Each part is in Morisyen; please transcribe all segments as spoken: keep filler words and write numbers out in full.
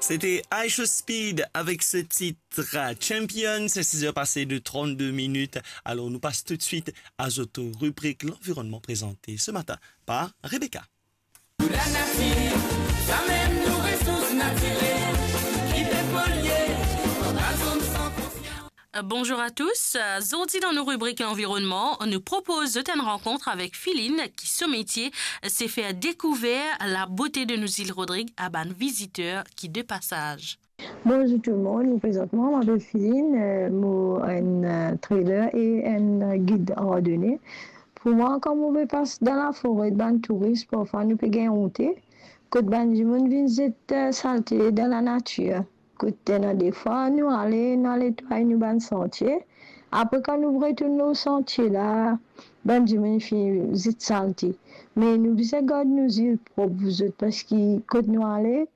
C'était IShowSpeed avec ce titre, euh, Champion. C'est six heures passées de trente-deux minutes. Alors, nous passons tout de suite à notre rubrique L'environnement, présentée ce matin par Rebecca. Pou lanati, samem nou resours natirel ki pe polye, pa zot san konsians. Euh, bonjour à tous. Euh, zordi dan nou ribrik Lanvironman, nou propoz zot enn rankont avek Filine ki so metie, euh, se fer dekouver labote de nou zil Rodrig a bann viziter ki de pasaz. Bonjour tout le monde, mo prezant mwa, mo apel Filine, euh, mo enn, euh, trader e enn, euh, gid randone. Pou mwa, kan mo pe pas dan lafore, bann touris, parfwa nou pe gagn onte, kot bann dimoun vinn zet, euh, salte dan lanatir. Kot ena defwa nou ale, nou al netway nou bann santie. Apre, kan nou retourn lor santie la, bann dimoun finn zet salte. Me nou bizin gard nou zil prop, zot, parski kot nou ale,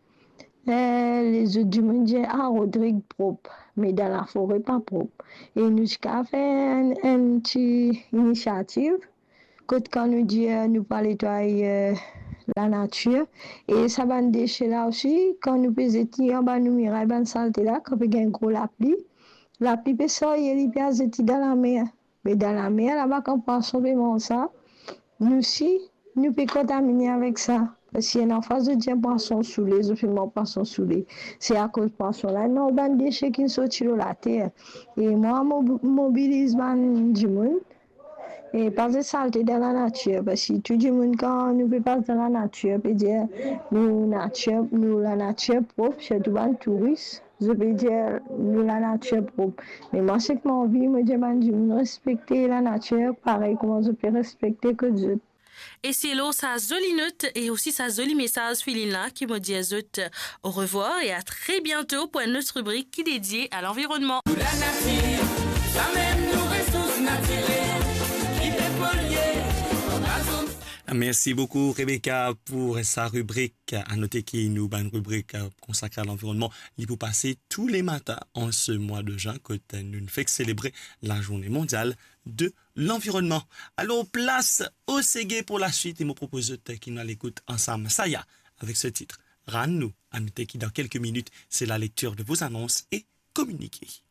eh, lezot dimoun dir, "Ah, Rodrig prop," me dan lafore pa prop. E nou ti kav fer enn, enn ti inisiativ, kot kan nou dir nou pou al netway, eh, lanatir, e sa bann dese la osi, kan nou pe zet li anba nou miray, bann salte la, kan pe gagn gro lapli, lapli pe sarye li, pe al zet li dan lamer. Me dan lamer laba, kan pwason pe manz sa, nou si nou pe kontamine avek sa. Parski ena fwa zot dir pwason soule, zot pe manz pwason soule. Se akoz pwason la, ena bann dese ki sorti lor later. E mwa, mo mobiliz bann dimoun, e pa zet salte dan lanatir, parski tou dimoun, kan nou pe pas dan lanatir, pe dir nou natir, nou lanatir prop, sirtou bann touris, zot pe dir nou lanatir prop. Me mwa, seki mo anvi, mo dir bann dimoun respekte lanatir parey kouma zot pe respekte kot zot. E se lor sa zoli not e osi sa zoli mesaz Filine la ki mo dir zot orevwar e a tre biento pou enn lot ribrik ki dedie a lanvironman. Pou lanati, samem nou resours natirel ki pe polye, pa zot. Merci beaucoup, Rebecca, pour sa rubrique. À noter ki nou bann ribrik, euh, konsakre a lanvironman, li pou pase tou le matin an se mwa de zin, kot nou fek selebre la Journée mondiale de l'environnement. Alors, place au seggae pour la suite, e mo propoz zot ki nou al ekout ansam Saya avec ce titre, Rann nou. A noter ki dan kelke minit, c'est la lecture de vos annonces et communiqués.